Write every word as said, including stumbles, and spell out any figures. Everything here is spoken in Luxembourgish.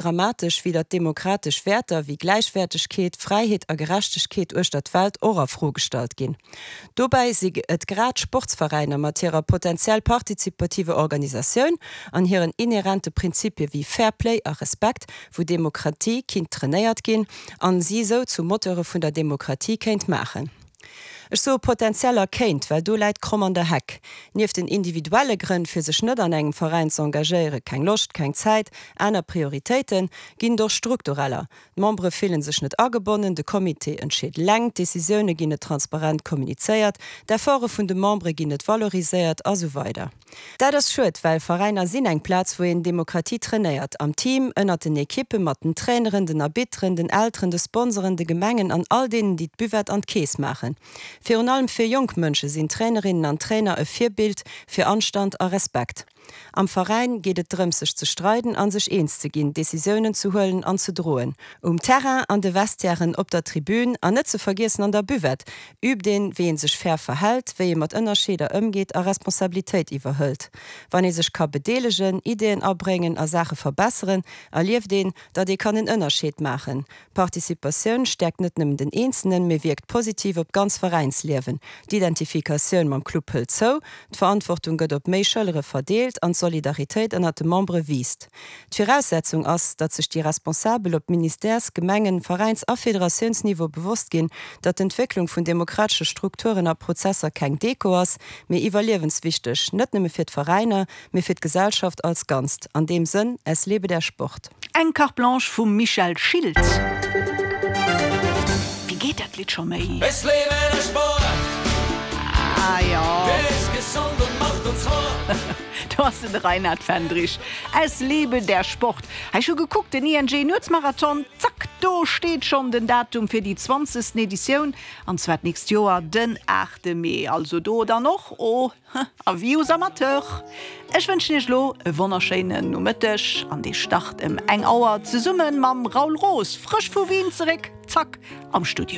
Dramatesch, wéi datt demokratesch Wäerter wéi Gläichwäertegkeet, Fräiheet a Gerechtegkeet uechter d'Welt och a Fro gestallt ginn. Dobäi si et grad Sportsveräiner mat hirer potenziell partizipativer Organisatioun an hiren inherente Prinzipie wéi Fair Play a Respekt, wou Demokratie kinnt trainéiert ginn an si sou zu Moteure vun der Demokratie kéint maachen. Ech soe potenziell a kéint, well do läit d'Kromm an der Heck. Nieft den individuelle Grënn fir sech net an engem Veräin z'engagéieren, keng Loscht, keng Zäit, aner Prioritéiten, ginn et och struktureller. D'Membere fillen sech net agebonnen, de Comité entscheet eleng, d'Decisioune ginn net transparent kommunizéiert, d'Efforte vun de Membere ginn net valoriséiert a sou weider. Dat ass schued, well Veräiner sinn eng Plaz, wou een Demokratie trainéiert, am Team, ënnert den Ekippen, mat den Traineren, den Arbitteren, den Elteren, de Sponsoren, de Gemengen an all deenen, déi d'Buvette an d'Keess maachen. Virun allem fir jonk Mënsche sinn Trainerinnen an Trainer e Virbild fir Anstand a Respekt. Am Veräin geet et drëms sech ze streiden an sech eens ze ginn, Decisiounen ze huelen an ze droen. Um Terrain, an de Vestiairen, op der Tribün an net ze vergiessen an der Buvette übt een, wéi een sech fair verhält, wéi ee mat Ënnerscheeder ëmgeet a Responsabilitéit iwwerhëlt. Wann ee sech ka bedeelegen, Ideeën abréngen a Saache verbesseren, erlieft een, datt ee kann en Ënnerscheed maachen. Participatioun stäerkt net nëmmen den Eenzelnen, mee wierkt positiv op d'ganz Veräinsliewen. D'Identifikatioun mam Club hëlt zou, d'Verantwortung gëtt op méi Schëllere verdeelt an d'Solidaritéit ënnert de Membere wiisst. D'Viraussetzung ass, datt sech déi Responsabel op Ministères-, Gemengen-, Veräins a Federatiounsniveau bewosst ginn, datt d'Entwécklung vun demokratesche Strukturen a Prozesser keng Deko ass, mee iwwerliewenswichteg, net nëmme fir d'Veräiner, mee fir d'Gesellschaft als Ganzt. An deem Sënn, Es lebe der Sport! Eng Carte Blanche vum Michel Schilt. Wéi geet dat Lidd scho méi? Es lebe der Sport! Ah jo. Der ist gesund und macht uns hart! Do ass en, de Reinhard Fendrich. Es lebe der Sport! Hei, ech hu gekuckt, den I N G Nuetsmarathon, zack, do steet schonn den Datum fir déi zwanzegsten Editioun, an zwar d'nächst Joer den aachte Mee. Also do dann och, oh, avis aux amateurs. Ech wënschen iech lo e wonnerschéinen Nomëtteg an dee start ëm eng Auer zesumme mam Raoul Roos, frësch vu Wien zeréck, zack, am Studio.